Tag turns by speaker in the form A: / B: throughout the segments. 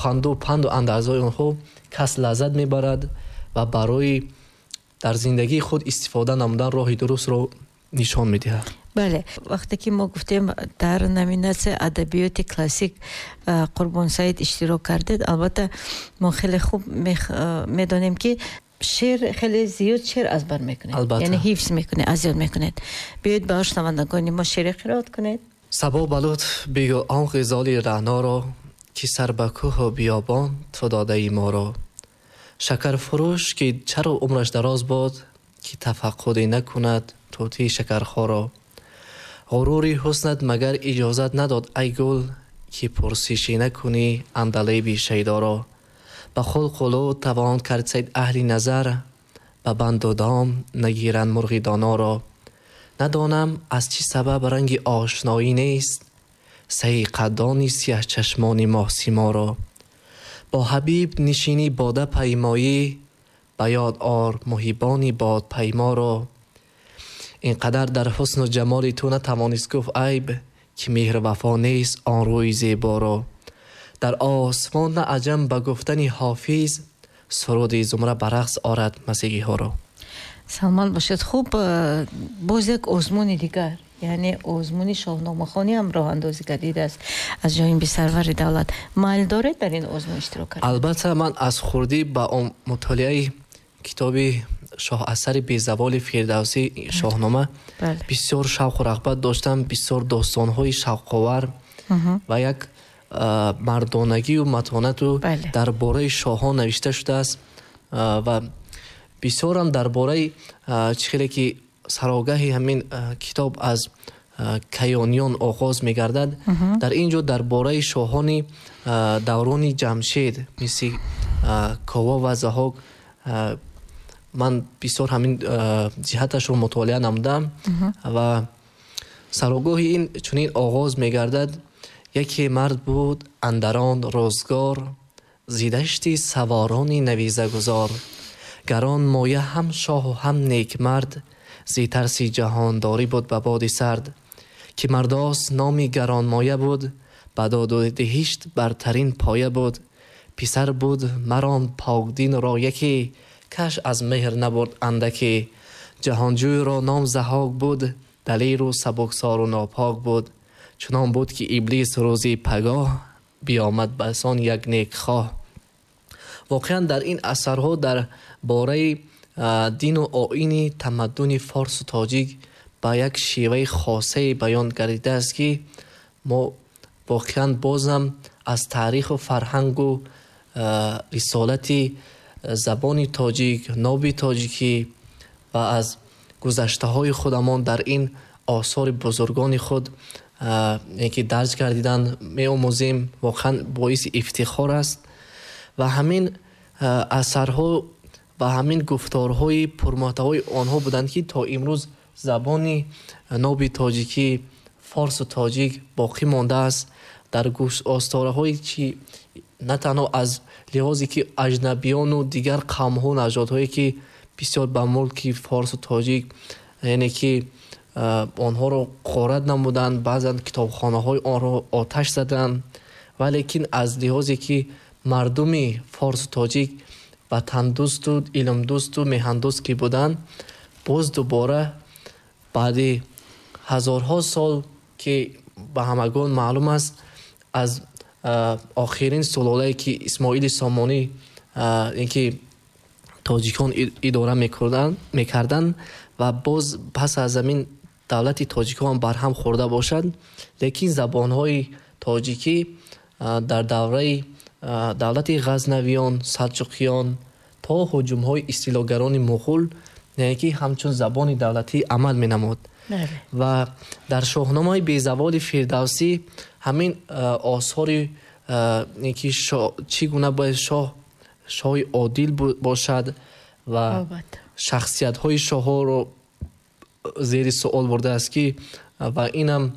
A: суханду панду андарзҳои онҳо кас лаззат мебарад ва барои дар зиндагии худ истифода намудан роҳи дурустро нишон медиҳад.
B: Бале, вақте ки мо гуфтем, дар номинатсияи адабиёти классик Қурбон Саид иштирок кардед, албатта мо хеле хуб медонем, ки шеър, хеле зиёд шеър аз бар мекунед, яъне ҳифз мекунед, аз ёд мекунед. Биёед, ба шунавандагони мо шеъре қироат кунед.
A: Сабо, ба лутф бигӯ он ғизоли раъноро, ки сар ба кӯҳу биёбон ту додаи моро. Шакарфурӯш, ки чаро умраш дароз бод, ки тафаққуде накунад тӯтии шакархоро. Ғурури ҳуснат магар иҷозат надод, ай гул, ки пурсишӣ накунӣ андалеби шайдоро. Ба хулқу лутф тавон кард сайд аҳли назар, ба банду дом нагиранд мурғи доноро. Надонам, аз чӣ сабаб ранги ошноӣ нест саҳиқаддони сиёҳчашмони моҳсиморо. Бо ҳабиб нишинӣ, бода паймоӣ, ба ёд ор муҳибони бодпайморо. Ин қадар дар ҳусну ҷамоли ту натавонист гуфт айб, ки меҳру вафо нест он рӯи зеборо. Дар осмон на аҷам ба гуфтани Ҳофиз, суруди зумра ба рақс орад масеҳиҳоро.
B: Саломат бошед. Хуб, боз як озмуни дигар, яъне озмуни шоҳномахонӣ ҳам роҳандозӣ гардидааст аз ҷониби сарвари давлат. Майл доред дар ин озмун иштирок кардан?
A: Албатта, ман аз хурдӣ ба мутолиаи китоби шоҳасари безаволи Фирдавсӣ, Шоҳнома, бисёр шавқу рағбат доштам. Бисёр достонҳои шавқовар ва як мардонагию матонату дар бораи шоҳон навишта шудааст ва бисёрам дар бораи чӣ хеле ки сарогаҳи ҳамин китоб аз Каёниён оғоз мегардад, дар ин ҷо дар бораи шоҳони даврони Ҷамшед, мисли Кова ва Заҳок, ман бисёр ҳамин ҷиҳаташро мутолиа намудам. Ва сарогоҳи ин чунин оғоз мегардад: яке мард буд андарон рӯзгор, зи дашти саворони навизагузор, гарон моя, ҳам шоҳу ҳам некмард, зи тарси ҷаҳондорӣ буд ба боди сард. Ки Мардос номи гаронмоя буд, ба доду диҳишт бартарин поя буд. Писар буд марон покдинро яке, каш аз меҳр набурд андаке. Ҷаҳонҷӯйро ном Заҳок буд, далеру сабуксору нопок буд. Чунон буд, ки Иблис рӯзи пагоҳ биомад басон як некхоҳ. Воқеан, дар ин асарҳо дар бораи дину оини тамаддуни форсу тоҷик ба як шеваи хосае баён гардидааст, ки мо воқеан бозам аз таъриху фарҳангу рисолати забони тоҷик, ноби тоҷикӣ ва аз гузаштаҳои худамон дар ин осори бузургони худ, ки дарҷ гардиданд, меомӯзем. Воқеан боиси ифтихор аст ва ҳамин асарҳо ва ҳамин гуфторҳои пурмуҳтавои онҳо буданд, ки то имрӯз забони ноби тоҷикӣ, форсу тоҷик боқӣ мондааст дар остораҳое, чи на танҳо аз лиҳозе ки аҷнабиёну дигар қавмҳо, нажодҳое, ки бисёр ба мулки форсу тоҷик, яъне ки онҳоро ғорат намуданд, баъзан китобхонаҳои онро оташ заданд, валекин аз лиҳозе ки мардуми форсу тоҷик ватандӯсту илмдӯсту меҳандӯст ки буданд, боз дубора баъди ҳазорҳо сол, ки ба ҳамагон маълум аст, аз охирин сулолае ки Исмоили Сомонӣ, ин ки тоҷикон идора мекарданд ва боз пас аз ҳамин давлати тоҷикон барҳам хӯрда бошад, лекин забонҳои тоҷикӣ дар давраи давлати Ғазнавиён, Салҷуқиён то ҳуҷумҳои истилогарони муғул, яъне ки ҳамчун забони давлатӣ амал менамуд. Ва дар Шоҳномаи безаволи Фирдавсӣ ҳамин осори, ки чӣ гуна бояд шоҳ, шоҳи одил бошад ва шахсиятҳои шоҳҳоро зери суол бурдааст, ки ва инам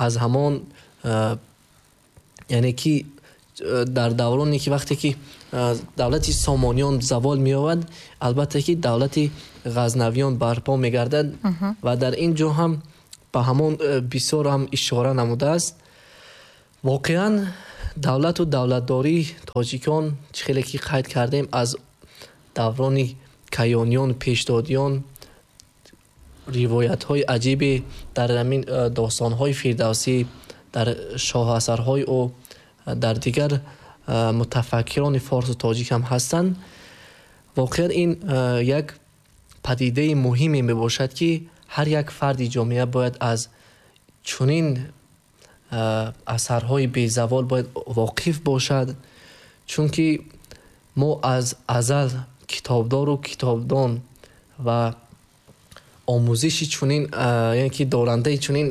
A: аз ҳамон, яъне ки дар давроне ки вақте ки давлати Сомониён завол меёбад, албатта ки давлати Ғазнавиён барпо мегардад ва дар ин ҷо ҳам ба ҳамон бисёр ҳам ишора намудааст. Воқеан, Давлату давлатдории тоҷикон, чӣ хеле ки қайд кардем, аз даврони каёниён, пешдодиён ривоятҳои аҷибе дар ҳамин достонҳои Фирдавсӣ, дар шоҳасарҳои ӯ, дар дигар мутафаккирони форсу тоҷик ҳам ҳастанд. Воқеан ин як падидаи муҳиме мебошад, ки ҳар як фарди ҷомеа бояд аз чунин асарҳои безавол бояд воқиф бошад, чунки мо аз азал китобдору китобдон ва омӯзиши чунин, яъне ки дорандаи чунин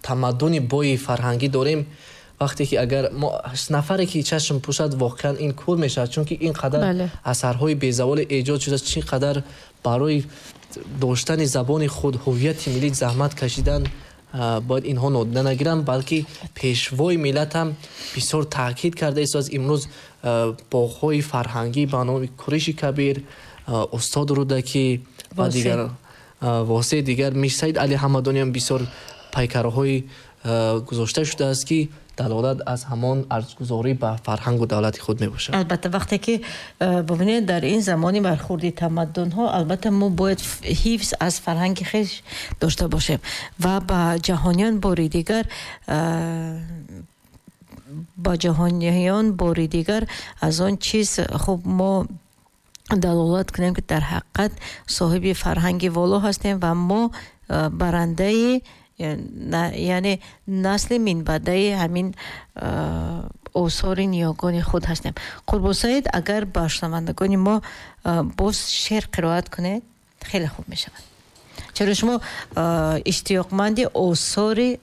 A: тамаддуни бои фарҳангӣ дорем. Вақте ки агар мо нафаре ки чашм пӯшад, воқеан ин кур мешавад, чунки ин қадар асарҳои безаволе эҷод шудааст, чӣ қадар барои доштани забони худ, ҳуввияти миллӣ заҳмат кашидан, бояд инҳо нодида нагиранд, балки пешвои миллат ҳам бисёр таъкид карда истодааст. Имрӯз боғҳои фарҳангӣ ба номи Куриши Кабир, устод Рӯдакӣ ва дигар восеи дигар Мирсаид Али Ҳамадонӣ ҳам бисёр пайкарҳои гузошта шудааст, ки далолат аз ҳамон арзгузорӣ ба фарҳангу давлати худ мебошад.
B: Албатта, вақте ки бибинед, дар ин замони бархурди тамаддунҳо, албатта мо бояд ҳифз аз фарҳанги хеш дошта бошем ва ба ҷаҳониён бори дигар аз он чиз хуб мо далолат кунем, ки дар ҳақиқат соҳиби фарҳанги воло ҳастем ва мо барандаи, яъне насли минбаъдаи ҳамин осори ниёгони худ ҳастем. Қурбонсаид, агар ба шунавандагони мо боз шеър қироат кунед, хеле хуб мешавад. Чаро шумо иштиёқманди осори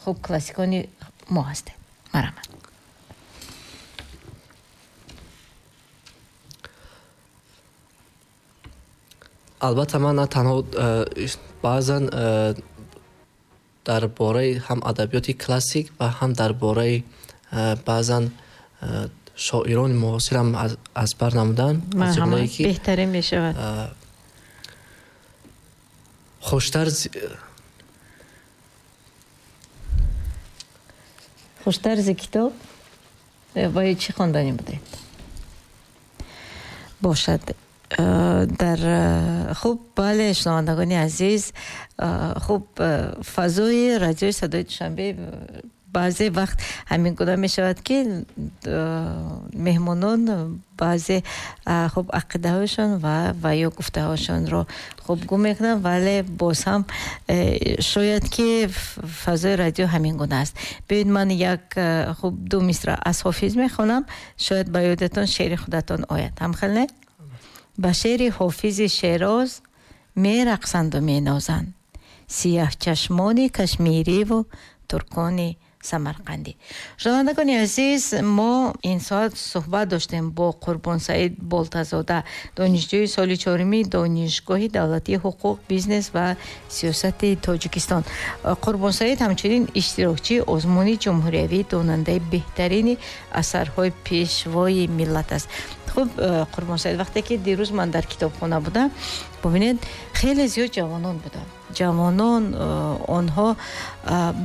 B: хуб классикони мо ҳастед. Марҳамат.
A: Албатта, ман на танҳо баъзан дар бораи ҳам адабиёти классик ва ҳам дар бораи баъзан шоирони муосирам аз бар намудам.
B: Марҳамат, беҳтарин мешавад. Хуштар зи китоб ва ё чӣ хонданӣ будед? Бошад. Дар хуб, бале, шунавандагони азиз, хуб, фазои радиои Садои Душанбе баъзе вақт ҳамин гуна мешавад, ки меҳмонон баъзе хуб ақидаҳояшон ва ё гуфтаҳояшонро хуб гум мекунанд, вале боз ҳам шояд ки фазои радио ҳамин гуна аст. Биёед, ман як хуб ду мисра аз Ҳофиз мехонам, шояд ба ёдатон шеъри худатон ояд. Ҳамхел не? Ба шеъри Ҳофизи Шероз мерақсанду менозанд сияҳчашмони кашмириву туркони самарқандӣ. Шунавандагони азиз, мо ин соат суҳбат доштем бо Қурбонсаид Болтазода, донишҷӯи соли чоруми Донишгоҳи давлатии ҳуқуқ, бизнес ва сиёсати Тоҷикистон. Қурбонсаид ҳамчунин иштирокчии озмуни ҷумҳуриявии донандаи беҳтарини асарҳои пешвои миллат аст. Хуб, Қурбонсаид, вақте ки дирӯз ман дар китобхона будам, бубинед, хеле зиёд ҷавонон буданд. Ҷавонон, онҳо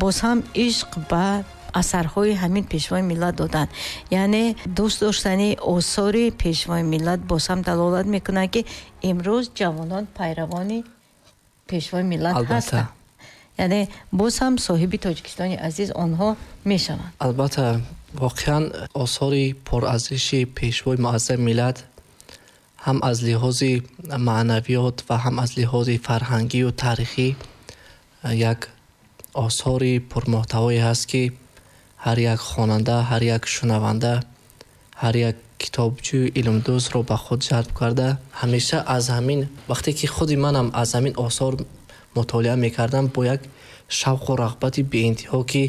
B: боз ҳам ишқ ба асарҳои ҳамин пешвои миллат доданд. Яъне дӯст доштани осори пешвои миллат боз ҳам далолат мекунад, ки имрӯз ҷавонон пайравони пешвои миллат ҳастанд. Яъне боз ҳам соҳиби Тоҷикистони азиз онҳо мешаванд.
A: Албатта, воқеан осори пурарзиши пешвои муаззами миллат ҳам аз лиҳози маънавиёт ва ҳам аз лиҳози фарҳангию таърихӣ як осори пурмуҳтавое ҳаст, ки ҳар як хонанда, ҳар як шунаванда, ҳар як китобҷӯи илмдӯстро ба худ ҷалб карда. Ҳамеша аз ҳамин вақте ки худи манам аз ҳамин осор мутолиа мекардам, бо як шавқу рағбати беинтиҳо, ки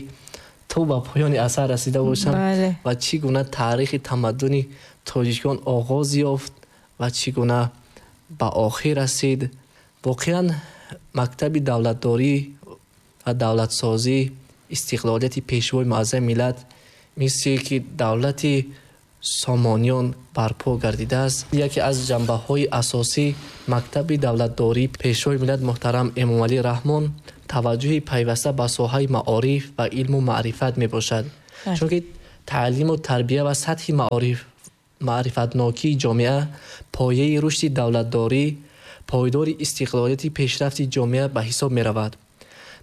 A: то ба поёни асар расида бошам ва чӣ гуна таърихи тамаддуни тоҷикон оғоз ёфт ва чӣ гуна ба охир расид. Воқеан мактаби давлатдорӣ ва давлатсозӣ, истиқлолияти пешвои муаззами миллат, мисли ки давлати сомониён барпо гардидааст, яке аз ҷанбаҳои асосӣ мактаби давлатдорӣ пешвои миллат муҳтарам Эмомалӣ Раҳмон таваҷҷӯҳи пайваста ба соҳаи маориф ва илму маърифат мебошад. Чунки Таълиму тарбия ва сатҳи маърифатнокии ҷомеа пояи рушди давлатдорӣ, пойдори истиқлолияти пешрафти ҷомеа ба ҳисоб меравад.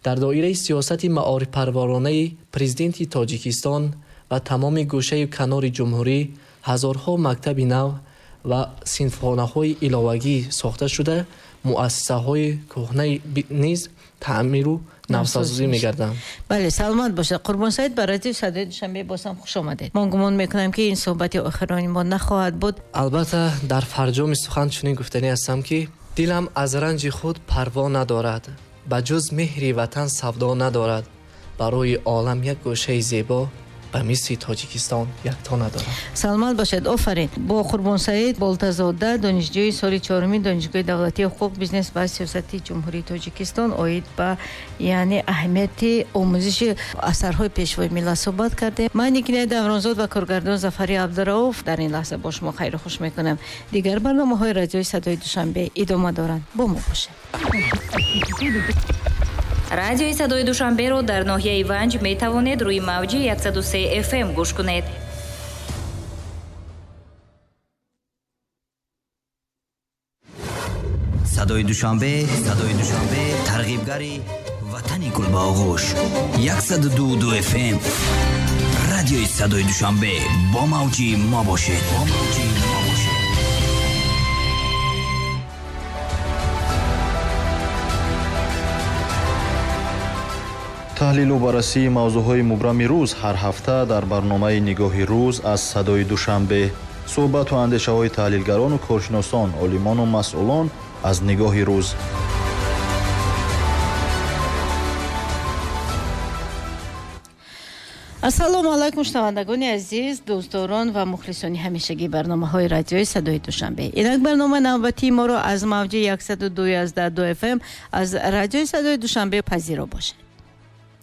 A: Дар доираи сиёсати маорифпарваронаи президенти Тоҷикистон ва тамоми гӯшаю канори ҷумҳурӣ ҳазорҳо мактаби нав ва синфхонаҳои иловагӣ сохта шуда, муассисаҳои кӯҳнаи низ таъмиру навсозӣ мегарданд.
B: Бале, саломат бошед. Қурбонсаид, ба радиои Садои Душанбе боз ҳам хуш омадед. Ман гумон мекунам, ки ин суҳбати охирони мо нахоҳад буд.
A: Албатта, дар фарҷоми сухан чунин гуфтанӣ ҳастам, ки дилам аз ранҷи худ парво надорад, ба ҷуз меҳри ватан савдо надорад, барои олам як гӯшаи зебо ба мисли Тоҷикистон якто надорад.
B: Саломат бошед, офарин. Бо Қурбонсаид Болтазода, донишҷӯи соли чоруми Донишгоҳи давлатии ҳуқуқ, бизнес ва сиёсати Ҷумҳурии Тоҷикистон оид ба яъне аҳамияти омӯзиши асарҳои пешвои миллат суҳбат кардем. Ман Никинаи Давронзод ва коргардон Зафари Абдурауф дар ин лаҳза бо шумо хайру хуш мекунам. Дигар барномаҳои радиои Садои Душанбе идома доранд. Бо мо бошед.
C: Радиои Садои Душанберо дар ноҳияи Ванҷ метавонед рӯи мавҷи 103 FM гӯш кунед.
D: Садои Душанбе, Садои Душанбе, тарғибгари ватани гул ба оғӯш. 102.2 FM. Радиои Садои Душанбе бо мавҷи мо бошед. Бо мавҷи мо бошед.
E: Таҳлилу баррасии мавзӯъҳои мубрами рӯз ҳар ҳафта дар барномаи Нигоҳи рӯз аз Садои Душанбе. Суҳбату андешаҳои таҳлилгарону коршиносон, олимону масъулон аз Нигоҳи рӯз.
B: Ассалому алайкум, шунавандагони азиз, дӯстдорон ва мухлисони ҳамешагии барномаҳои радиои Садои Душанбе. Инак барномаи навбатии моро аз мавҷи 102.2 FM аз радиои Садои Душанбе пазиро бошед.